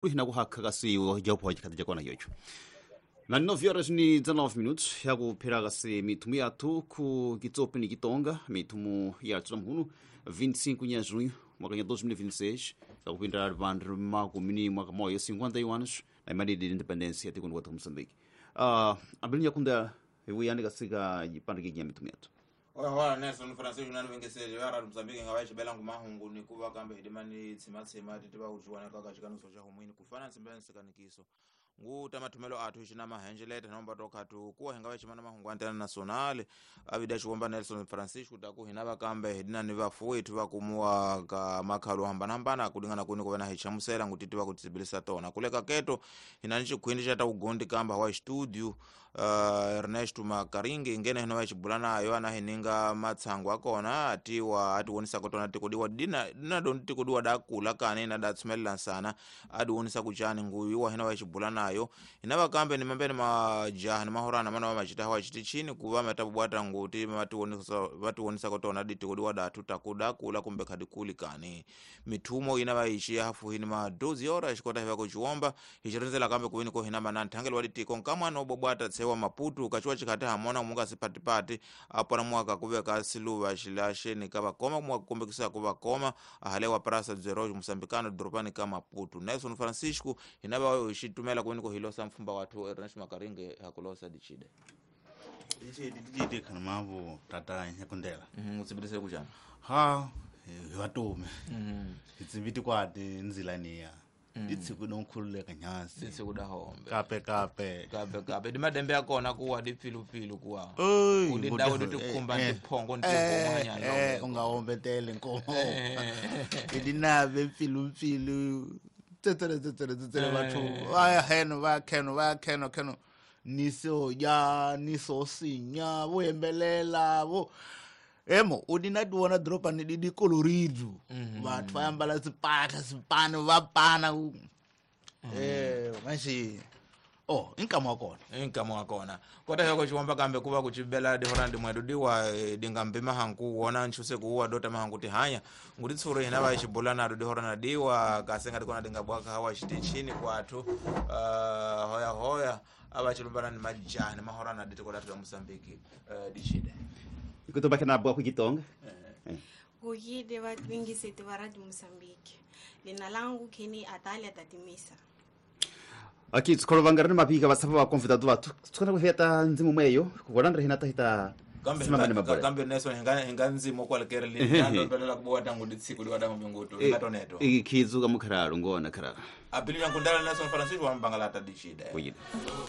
Hina kuhakha kasi japo hajikati jakona yocho. Na 9 horas ni 19 minutos yakuphera kasi mithumu yathu ku kitsopi ni kitonga mithumu ya tsulamuhunu 25 nya junho mwaka nya 2026 zakupindra vandu makumi ni mwaka moyo 51 anos na imali de independência tikuni kwathu Moçambique. Abili nyakunda iwuyani kasika jipandike nya mithumu yathu. Oya Nelson Francisco nani vengesele vara Mozambique ngava xibela ngumahungu ni kuva kambe hidimani tsima titi va kujuwana kaka xikaniso xa humwini kufana ntsimbela nsikanikiso nguta mathumelo athu xina mahenjeleta nomba tokhatu kuwa hinga ximana mahungu antena nacional avida xiwomba Nelson Francisco ta ku hina va kambe hidina ni vafuwethu va kumuwa ka makhalo hambanahambana kulingana kuni kuva na hi chamusela ngutiti va ku tsibilisa tona kuleka keto hina ni xikhwindi xa ta ugondi kamba wa studio Ernesto Makaringi ngene hina va xibula nayo ana hininga matshangu akona atiwa atiwonisa kotona tikodiwa dina dina don tikodiwa da kula kane na da tsumela nsana adiwonisa kuchani nguyu wa hina va xibula nayo hina vakambe ni mambeni majaha ni mahorana mana va machita hawa chitichini kuva matabwata nguti vatiwonisa kotona ditikodiwa datu takuda kula kumbe khadikuli kane mithumo ina va ixiya hafu hini ma 12 horas xikota hiva kuchiwomba hixirindzela kambe kuwini ko hina mana nthangelo wa ditiko nkamwana obobwata tsewa Maputo kachiwa chikhati hamona munga sipatipati apona mwaka kuveka siluva xilaxeni ka vakoma mwaka kumbekisa ku vakoma ahalewa prasa dzero Moçambicano doropani ka Maputo Nelson Francisco hina va xitumela kuwini ko hilosa mfumba wathu Ernest Makaringe hakulosa dichide dichide khana mavo tata nyakundela utsibirise kuchana ha hi vatume hi tsibiti kwati nzilaniya ditsiku donkhululeka nyasi ditsiku da hombe kape kape kape kape dimadembe akona kuwa dipfilupfilu kuwa udidawo ditikhumba ndiphongo ndihomanyana ungahombetele nkomo idinabe mpfilumpfilu tsetsele tsetsele tsetsele batho va heno va kheno va kheno kheno niso ya niso sinya vo yembelela vo emo udina diwona dropa ni di colorido batho va ambala sipaka sipano va pana manje oh inkamo akona inkamo akona kota yoko chiwomba kambe kuva kuchibela dihora ndi mwedu diwa dingambe mahanku wona nchuse kuwa dota mahanku tihanya nguti tsuro hina va xibula na dihora na diwa kasenga dikona dingabwaka hawa xitichini kwathu hoya hoya ava chilumbana ni majani mahora na ditiko la Mozambique dichide ikutoba kana bwa kukitonga kuyide va vingiseti va Radio Mozambique lina langu kini Atalia Tatimisa aqui tsikolo ni mapika vasapa va convidado vathu tsikona kuveta ndzimu mweyo kuvolandra hina tahita kambe Nelson hinga ndzimo kwalekere linandombelela kubowa tangu ditsiku liwa mbingutu ingatoneto ikhidzuka mukharalo ngona kharalo abili yankundala Nelson Francisco wa mbangalata dichide kuyide.